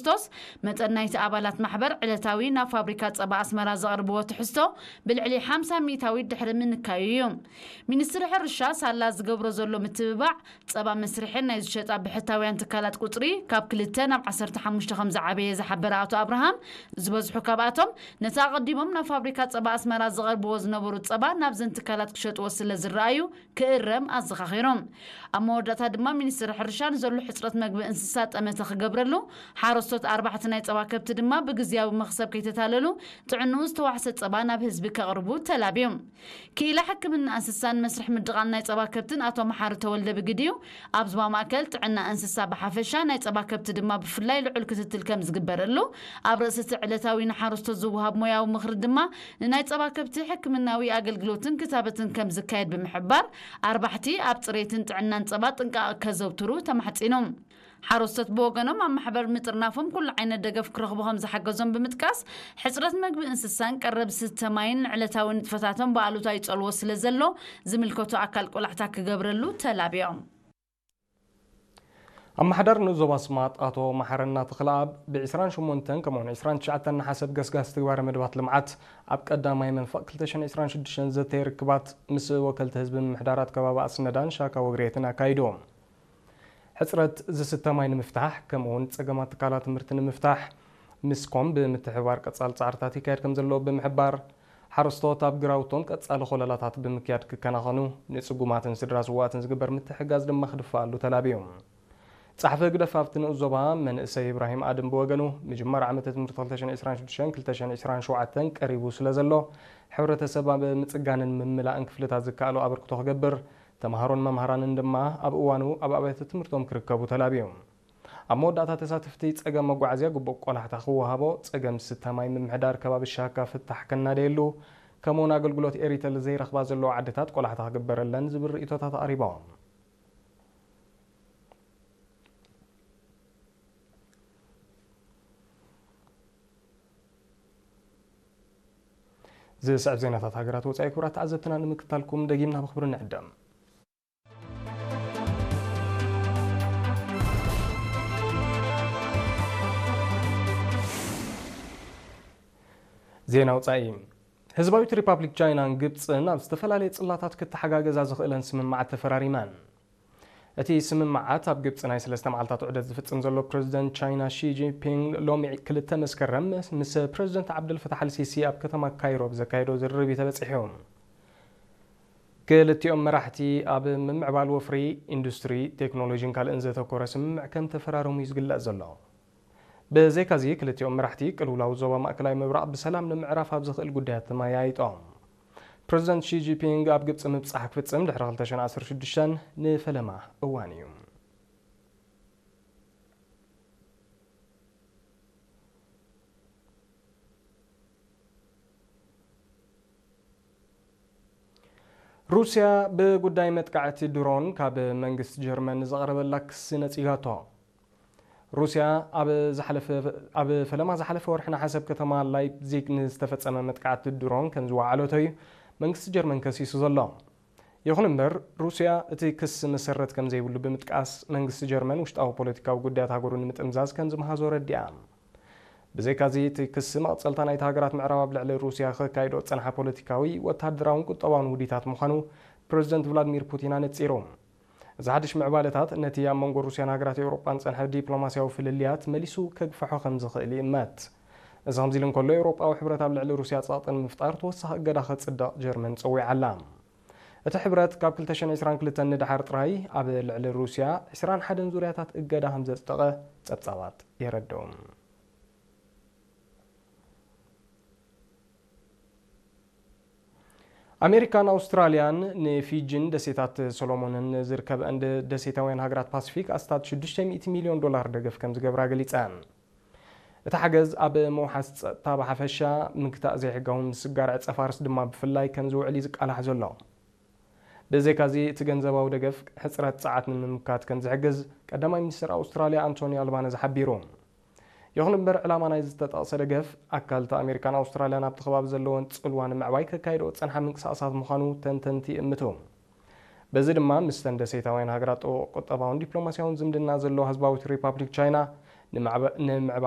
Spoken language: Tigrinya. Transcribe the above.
ክርስቶስ፣ መጠን ናይቲ ኣባላት ማሕበር ዕለታዊ ናብ ፋብሪካ ጸባ ኣስመራ ዘቕርብዎ ትሕዝቶ ብልዕሊ ሓምሳ ሚእታዊት ድሕሪ ምንካዩ እዩ። ሚኒስትሪ ሕርሻ ሳላ ዝገብሮ ዘሎ ምትብባዕ ጸባ መስርሕን ናይ ዝሸጣ ብሕታውያን ትካላት ቁጽሪ ካብ ክልተ ናብ ዓሰርተ ሓሙሽተ ከም ዝዓበየ ዝሓበረ ኣቶ ኣብርሃም፣ ዝበዝሑ ካብኣቶም ነቲ ኣቐዲሞም ናብ ፋብሪካ ጸባ ኣስመራ ዝቐርብዎ ዝነበሩ ጸባ ናብዘን ትካላት ክሸጥዎ ስለ ዝረኣዩ ክእረም ኣዘኻኺሮም። ኣብ መወዳእታ ድማ ሚኒስትሪ ሕርሻ ንዘሎ ሕጽረት መግቢ እንስሳ ጠመተ ክገብረሉ፣ ሓረስቶት ኣርባሕቲ ናይ ጸባ ከብቲ ድማ ብግዝያዊ መኽሰብ ከይተታለሉ ጥዕንኡ ዝተዋሕሰ ጸባ ናብ ህዝቢ ከቕርቡ ተላብዮም። ክኢላ ሕክምና እንስሳን መስርሕ ምድቓል ናይ ጸባ ከብትን ኣቶ መሓሪ ተወልደ ብግዲኡ፣ ኣብ ዞባ ማእከል ጥዕና እንስሳ ብሓፈሻ ናይ ጸባ ከብቲ ድማ ብፍላይ ልዑል ክትትል ከም ዝግበረሉ፣ ኣብ ርእሲ እቲ ዕለታዊ ንሓረስቶት ዝወሃብ ሞያዊ ምኽሪ ድማ ንናይ ጸባ ከብቲ ሕክምናዊ ኣገልግሎትን ክታበትን ከም ዝካየድ ብምሕባር፣ ኣርባሕቲ ኣብ ጽሬትን ጥዕናን ጸባ ጥንቃቐ ከዘውትሩ ተማሕጺኖም። ሓረስቶት ብወገኖም ኣብ ማሕበር ምጥርናፎም ኩሉ ዓይነት ደገፍ ክረኽቡ ከም ዝሓገዞም ብምጥቃስ፣ ሕጽረት መግቢ እንስሳን ቀረብ ዝስተ ማይን ንዕለታዊ ንጥፈታቶም ብኣሉታ ይጸልዎ ስለ ዘሎ ዝምልከቶ ኣካል ቆላሕታ ክገብረሉ ተላብዮም። ኣመሓዳር ንኡስ ዞባ ኣስማጥ ኣቶ መሓረና ተኽለኣብ ብ ዕስራን ሸሞንተን ከምኡውን ዕስራን ትሽዓተን ነሓሰ ኣብ ገስጋስ ትግባረ መደባት ልምዓት ኣብ ቀዳማይ መንፈቕ ክልተ ሽሕን ዕስራን ሽዱሽተን ዘተየ ርክባት ምስ ወከልቲ ህዝቢ ምምሕዳራት ከባቢ ኣስነዳን ሻካ ወግሬትን ኣካይዱ። ሕጽረት ዝስተ ማይ ንምፍታሕ፣ ከምኡውን ጸገማት ትካላት ትምህርቲ ንምፍታሕ፣ ምስኮም ብምትሕብባር ቀጻሊ ጻዕርታት ይካየድ ከም ዘሎ ብምሕባር፣ ሓረስቶት ኣብ ግራውቶም ቀጻሊ ኮለላታት ብምክያድ ክከናኸኑ፣ ንጽጉማትን ስድራ ስውኣትን ዝግበር ምትሕጋዝ ድማ ክድፋኣሉ ተላብዩ። ጸሓፊ ህግደፍ ኣብቲ ንኡስ ዞባ መንእሰይ ኢብራሂም ኣድም ብወገኑ፣ ምጅማር ዓመተ ትምህርቲ ክልተ ሽሕን ዕስራን ሽዱሽተን ክልተ ሽሕን ዕስራን ሸውዓተን ቀሪቡ ስለ ዘሎ፣ ሕብረተሰብ ኣብ ምጽጋንን ምምላእን ክፍልታት ዝከኣሎ ኣበርክቶ ክገብር፣ ተምሃሮን መምሃራንን ድማ ኣብ እዋኑ ኣብ ኣብያተ ትምህርቶም ክርከቡ ተላብዩ። ኣብ መወዳእታ ተሳተፍቲ ጸገም መጓዓዝያ ግቡእ ቆላሕታ ክወሃቦ፣ ጸገም ዝስተ ማይ ምምሕዳር ከባቢ ሻካ ፍታሕ ከናደየሉ፣ ከምኡውን ኣገልግሎት ኤሪተል ዘይረኽባ ዘለዋ ዓድታት ቆላሕታ ክግበረለን ዝብል ርእይቶታት ኣቕሪቦም። ዝስዕብ ዜናታት ሃገራት ወጻኢ ክቡራት ተዓዘብትና ንምክታልኩም ደጊምና ብኽብሪ ንዕደም። ዜና ወጻኢ። ህዝባዊት ሪፓብሊክ ቻይናን ግብጽን ኣብ ዝተፈላለየ ጽላታት ክተሓጋገዛ ዝኽእለን ስምምዓት ተፈራሪመን። እቲ ስምምዓት ኣብ ግብጽ ናይ ሰለስተ መዓልታት ዑደት ዝፍጽም ዘሎ ፕረዚደንት ቻይና ሺ ጂንፒንግ ሎሚ ክልተ መስከረም ምስ ፕረዚደንት ዓብደልፈታሕ ኣልሲሲ ኣብ ከተማ ካይሮ ብዘካየዶ ዝርርብ እዩ ተበጺሑ። ክልቲኦም መራሕቲ ኣብ ምምዕባል ወፍሪ፣ ኢንዱስትሪ፣ ቴክኖሎጂን ካልእን ዘተኮረ ስምምዕ ከም ተፈራረሙ እዩ ዝግለጽ ዘሎ። ብዘይካዚ፣ ክልቲኦም መራሕቲ ቅልውላው ዞባ ማእከላይ ምብራቕ ብሰላም ንምዕራፍ ኣብ ዝኽእል ጉዳያት ተመያይጦም። ፕረዚደንት ሺ ጂንፒንግ ኣብ ግብጺ ምብጻሕ ክፍጽም ድሕሪ ክልተ ሽሕን ዓሰርተ ሽዱሽተን ንፈለማ እዋን እዩ። ሩስያ ብጉዳይ መጥቃዕቲ ድሮን ካብ መንግስቲ ጀርመን ንዝቐረበላ ክሲ ነጺጋቶ። ሩስያ ኣብ ዝሓለፈ፣ ኣብ ፈለማ ዝሓለፈ ወርሒ ነሓሰ ኣብ ከተማ ላይፕዚግ ንዝተፈጸመ መጥቃዕቲ ድሮን ከም ዝወዓለቶ እዩ መንግስቲ ጀርመን ከሲሱ ዘሎ። ይኹን እምበር፣ ሩስያ እቲ ክሲ መሰረት ከም ዘይብሉ ብምጥቃስ፣ መንግስቲ ጀርመን ውሽጣዊ ፖለቲካዊ ጉዳያት ሃገሩ ንምጥምዛዝ ከም ዝመሃዞ ረዲኣ። ብዘይካዚ፣ እቲ ክሲ መቐጸልታ ናይቲ ሃገራት ምዕራብ ኣብ ልዕሊ ሩስያ ከካይዶ ዝጸንሓ ፖለቲካዊ፣ ወተሃደራውን ቁጠባውን ውዲታት ምዃኑ ፕረዚደንት ቭላድሚር ፑቲን ኣነጺሩ። እዚ ሓድሽ ምዕባለታት ነቲ ኣብ መንጎ ሩስያን ሃገራት ኤውሮጳን ዝጸንሐ ዲፕሎማስያዊ ፍልልያት መሊሱ ከግፍሖ ከም ዝኽእል ይእመት። እዚ ከምዚ ኢሉ እንከሎ፣ ኤውሮጳዊ ሕብረት ኣብ ልዕሊ ሩስያ ጸቕጢ ንምፍጣር ተወሳኺ እገዳ ከጽድቕ ጀርመን ጸዊዓ ኣላ። እቲ ሕብረት ካብ ክልተ ሽሕን ዕስራን ክልተን ንደሓር ጥራይ ኣብ ልዕሊ ሩስያ ዕስራን ሓደን ዙርያታት እገዳ ከም ዘጽደቐ ጸብጻባት የረድኡ። ኣሜሪካን ኣውስትራልያን ንፊጂን ደሴታት ሶሎሞንን ዝርከበኣን ደ-፣ ደሴታውያን ሃገራት ፓሲፊክ ኣስታት ሽዱሽተ ሚእቲ ሚልዮን ዶላር ደገፍ ከም ዝገብራ ገሊጸን። እቲ ሓገዝ ኣብ ምውሓስ ጸጥታ ብሓፈሻ፣ ምግታእ ዘይሕጋዊ ምስግጋር ዕጸ ፋርስ ድማ ብፍላይ ከም ዝውዕል እዩ ዝቃላሕ ዘሎ። ብዘይካዚ፣ እቲ ገንዘባዊ ደገፍ ሕጽረት ጸዓት ንምምካት ከም ዝሕግዝ ቀዳማይ ሚኒስትር ኣውስትራልያ ኣንቶኒ ኣልባነዝ ሓቢሩ። ይኹን እምበር፣ ዕላማ ናይዚ ዝተጠቕሰ ደገፍ፣ ኣካል እቲ ኣሜሪካን ኣውስትራልያን ኣብቲ ከባቢ ዘለወን ጽልዋ ንምዕባይ ከካይድኦ ዝጸንሓ ምንቅስቓሳት ምዃኑ ተንተንቲ ይእምቱ። በዚ ድማ፣ ምስተን ደሴታውያን ሃገራት ጥቡቕ ቁጠባውን ዲፕሎማስያውን ዝምድና ዘለዋ ህዝባዊት ሪፓብሊክ ቻይና፣ ንምዕባ-፣ ንምዕባለ